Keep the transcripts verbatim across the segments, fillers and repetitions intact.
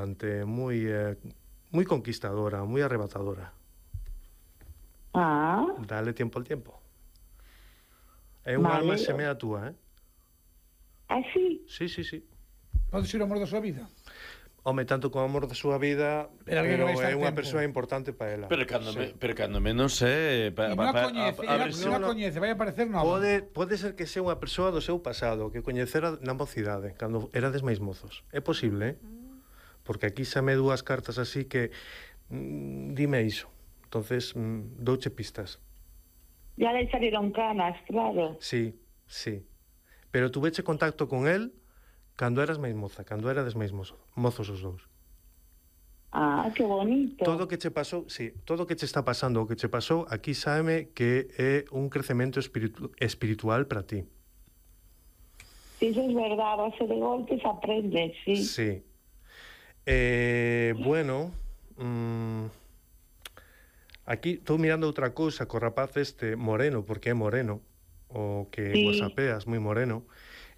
abundante, moi eh, moi conquistadora, moi arrebatadora. Ah. Dale tiempo al tiempo. É un Vale. alma semea túa, eh? Ah, sí? Sí, sí, sí. Pode ser o amor da súa vida. Home, tanto como amor da súa vida, Pero alguén pero que vai estar é unha tempo. persoa importante para ela. Pero cando, Sí. me, pero cando menos eh, pa, E pa, non a pa, coñece, a, a, e ver non se- a coñece, vai aparecer nova. Pode, pode ser que sea unha persoa do seu pasado, que coñecera na mocidade, cando erades máis mozos. É posible, eh? Porque aquí xa me dúas cartas así que mm, dime iso. Entonces, mm, douche pistas. Ya le salieron canas, claro. Sí, sí. Pero tuveche contacto con él cando eras máis moza, cando erades máis mozo, mozos os dous. Ah, qué bonito. Todo o que che pasou, sí, todo o que che está pasando, o que che pasou, aquí sábeme que é un crecemento espiritu espiritual para ti. Sí, eso es verdad, a base de golpes aprendes, sí. Sí. Eh, bueno, mmm, aquí estou mirando outra cousa co rapaz este moreno, porque é moreno, o que Sí. whatsappeas, moi moreno.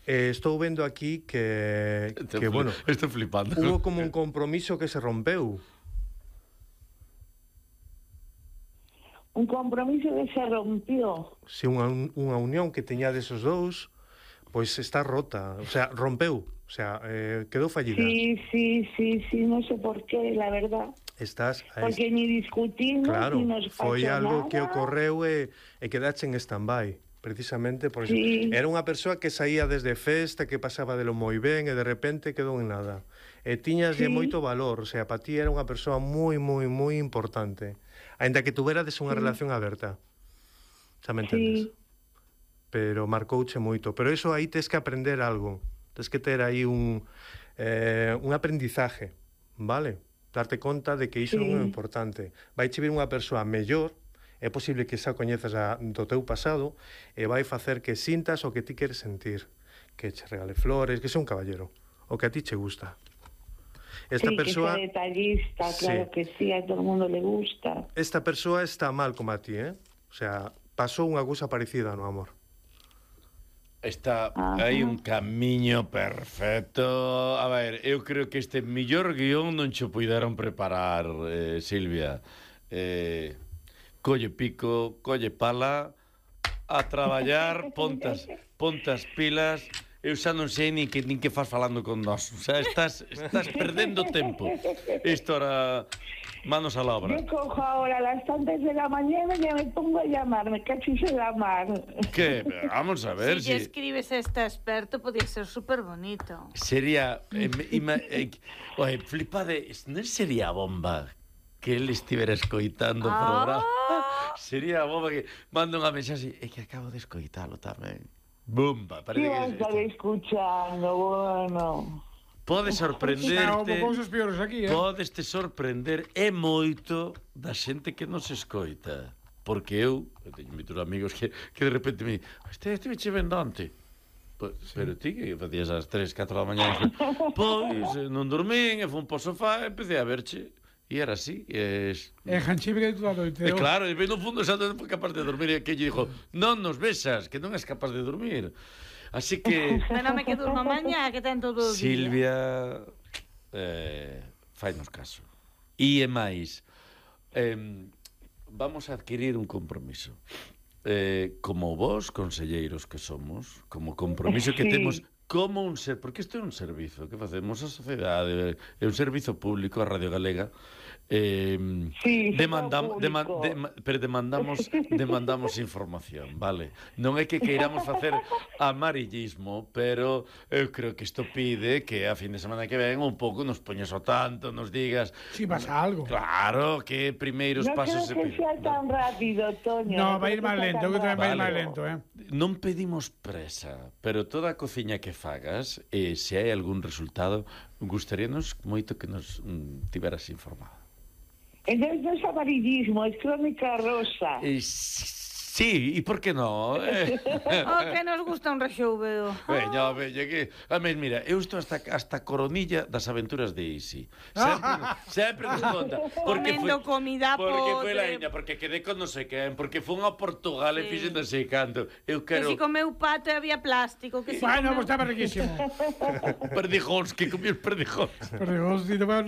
Eh, estou vendo aquí que, Estou que fli- bueno, estou flipando. hubo como un compromiso que se rompeu. Un compromiso que se rompió. Se unha, unha unión que teñades os dous, pois está rota, o sea, rompeu, o sea, eh, quedou fallida. Sí, sí, sí, sí, no sé por qué, la verdad. Estás a Porque ni discutimos, Claro, ni nos pasó foi algo nada. que ocorreu e, e quedache en stand-by, precisamente por Sí. eso. Era unha persoa que saía desde festa, que pasaba de lo moi ben e de repente quedou en nada. E tiñaslle Sí. moito valor, o sea, para ti era unha persoa moi, moi, moi importante. Ainda que tuverades unha Sí. relación aberta. Xa me Sí. entendes? Pero marcouche moito. Pero eso aí tes que aprender algo. Tes que ter aí un, eh, un aprendizaje, vale? Darte conta de que iso Sí. non é importante. Vai che vir unha persoa mellor, é posible que xa coñezas a, do teu pasado, e vai facer que sintas o que ti queres sentir. Que che regale flores, que sea un caballero. O que a ti che gusta. Esta sí, persoa... que sea detallista, claro Sí. que sí, a todo el mundo le gusta. Esta persoa está mal como a ti, eh? O sea, pasou unha cousa parecida no amor. Está Ajá. hai un camiño perfecto. A ver, eu creo que este millor guión non che puideron preparar, eh, Silvia. Eh, colle pico, colle pala, a traballar, pontas, pontas pilas. Eu xa non sei nin que, nin que faz falando con nós. O sea, estás, estás perdendo tempo. Isto era manos a la obra. Yo cojo ahora a las tantas de la mañana y ya me pongo a llamar, me cachis en la mar. Que? Vamos a ver Si lle si... escribes a este experto, podía ser súper bonito. Sería... Eh, ima, eh, oye, flipade, non sería a bomba que ele estivera escoitando o Ah. programa? Sería a bomba que manda unha mensaxe, é que acabo de escoitalo tamén. Bomba, ¿Qué parece vas a que estar escuchando? Bueno. pode Xa, sorprenderte, houve cousas peores aquí, eh? podes te sorprender e moito da xente que nos escoita. Porque eu, eu teño moitos amigos que, que de repente me di, este estive che vendo onte. Pues, sí. Pero ti que facías ás tres, catro da mañá? Pois, eh, non dormín, e fun po sofá e empecé a verche. E era así, e... Es... É janchibre de toda a noite. E claro, e no fundo xa non foi capaz de dormir e que lle dixo, non nos besas, que non és capaz de dormir. Así que... Menome que durma mañá, que ten todo o día. Silvia, eh, fainos caso. E é máis, eh, vamos a adquirir un compromiso. Eh, como vos, conselleiros que somos, como compromiso que Sí. temos como un ser, porque isto é un servizo que facemos a sociedade, é un servizo público a Radio Galega. Eh, Sí, demandam, público. deman, dema, pero demandamos demandamos información, vale? Non é que queiramos facer amarillismo, pero eu creo que isto pide que a fin de semana que ven un pouco nos poñes ao tanto, nos digas, Si pasa algo. claro, que primeiros No pasos creo que se sea piden. tan rápido, Toño. No, va a ir creo máis que sea lento, tan que tamén va a ir Vale. máis lento, eh? Non pedimos presa, pero toda a cociña que fagas, e se hai algún resultado, gustaríanos moito que nos mm, tiveras informado. Entonces no es amarillismo, es crónica rosa. E, sí, e por que non? Eh? Oh, que nos gusta un rexouveo. Veña, veña, que... A mí, mira, eu estou hasta, hasta coronilla das aventuras de Isi. Sempre, sempre nos conta. Comendo comida Porque foi la podre. Iña, porque quedé con non sei quen, porque fun a Portugal e Sí. fixen non sei canto. Eu Que quero... si comeu pato e había plástico. Que si Bueno, comeu... pues estaba riquísimo. Perdijóns, que comí os perdijóns. Pero, hostia,